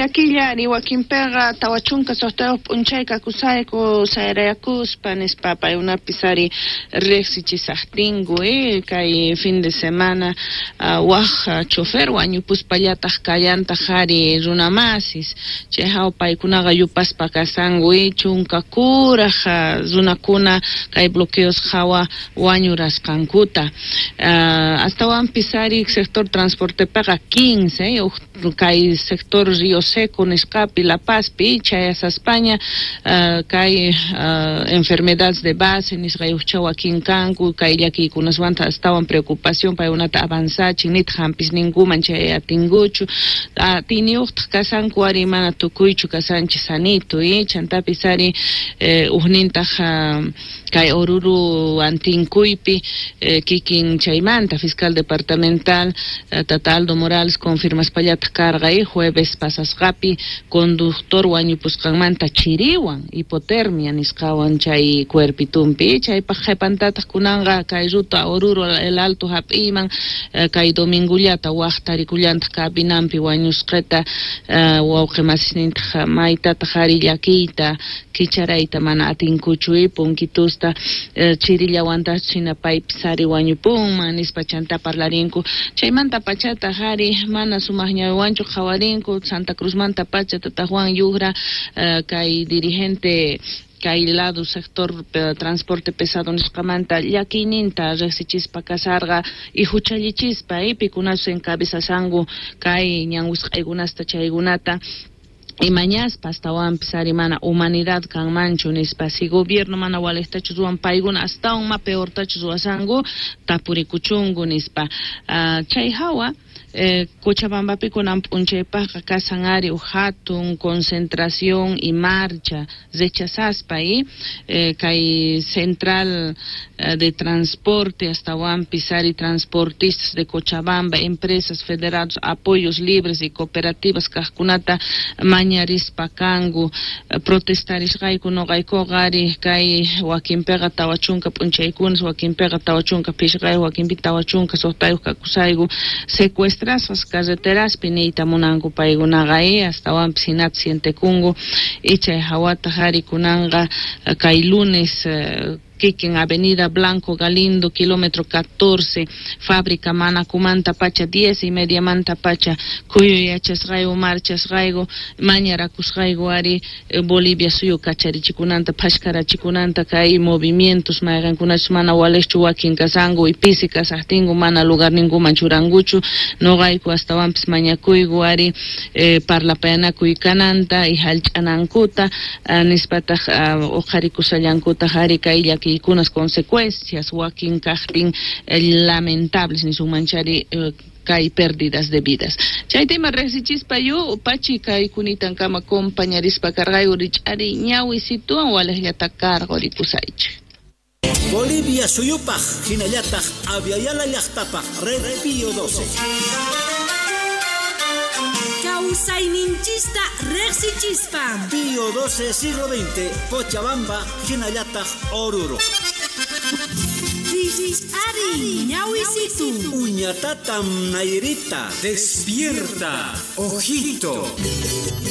Llakillari wakinpiqa 46 p'unchay kakusayku sayarayakuspa nispa paykunapis ari riqsichisaqtinku kay fin de semana waj chofer wañupuspallataq kallantaq ari runamasis chay hawa paykunaqa yupaspa kasanku 13 runakuna kay bloqueos hawa wañurasqankuta astawanpis ari sector transportepiqa 15 kay sector Río Seco nisqapi La Pazpi chayasaspaña kay enfermedades de base nisqayuqcha wakin kanku kay llakiykunaswanta astawan preocupación paykunata avanzachin nitaq hampisninkuman chay atinkuchu atiniyuqtaq kasanku ari mana tukuychu kasanchis sanito chantapis ari ujnintaq kay Oruro antinkuypi kikin chaymanta fiscal departamental Tata Aldo Morales confirmaspallataq karqa jueves pasasqapi conductor wañupusqanmanta chiriwan hipotermia nisqawan chay cuerpitumpi chaypaq qhipantataq kunanqa kay ruta Oruro el Alto hap'iyman kay domingullata waj tarikullantaq cabinanpi wañusqata wawqi masisnintaq maytataq ari llakiyta kicharayta mana atinkuchu punkitusta chirillawantaq china paypis ari wañupunman nispa chanta parlarinku chaymanta pachataq ari mana sumaq ñawiwanchu qhawarinku Santa Cruzmanta pacha Tata Juan Yugra kay dirigente kay lado sector transporte pesado nisqamanta llakiyninta riqsichispa kasarqa y huchallichispa pikunachus encabezashanku kay ñanwisq'aykunasta chaykunata imañaspa astawanpis ari mana humanidad kanmanchu nispa si gobierno mana waliqtachu ruwan paykuna astawan ma peortachu ruwasanku tapurikuchunku nispa chay hawa Cochabambapi kunan p'unchaypaqqa kasan ari uj hatun concentración y marcha rechazaspa kay central de transporte astawanpis ari transportistas de Cochabamba empresas federados apoyos libres y cooperativas kaqkunata mañarispa kanku protestarisqayku noqaykuqa ari kay wakinpiqa 40 p'unchaykunas wakinpiqa 45 wakinpi 46 kakusayku secuestrasqas carreteraspi niyta munanku paykunaqa astawanpis hinata sientekunku y chay hawataq ari kunanqa kay lunes kikin Avenida Blanco Galindo, kilómetro 14, fábrica Manacumanta pacha 10:30 manta pacha, kuyuy yachasqayku marchasqayku mañarakusqayku ari Bolivia suyu kacharichikunanta phashkarachikunanta kay movimientos mayqankunachus mana waliqchu wakin kasanku y pisi kasaqtinku mana lugarninkuman churankuchu noqayku astawanpis mañakuyku ari parlapayanakuy kananta y hallch'anankuta nispataq uqharikusallankutaq ari kay llaki kunas consecuencias wakin kaqtin lamentables nisunmanchari kay pérdidas de vidas. Chay tema riqsichispa yu pachi kay kunitankama compañarispa karqayku rich'ari ñawisituwan waliqllata karqu rikusaychik. Bolivia suyupaq hinallataq Aviala llaqtapaq Red Pío 12. Kawsayninchista riqsichispa. Pío 12 siglo XX, Cochabamba, hinallataq Oruro. Ari, ñawisitu. Uñatatam Nairita. Despierta, ojito.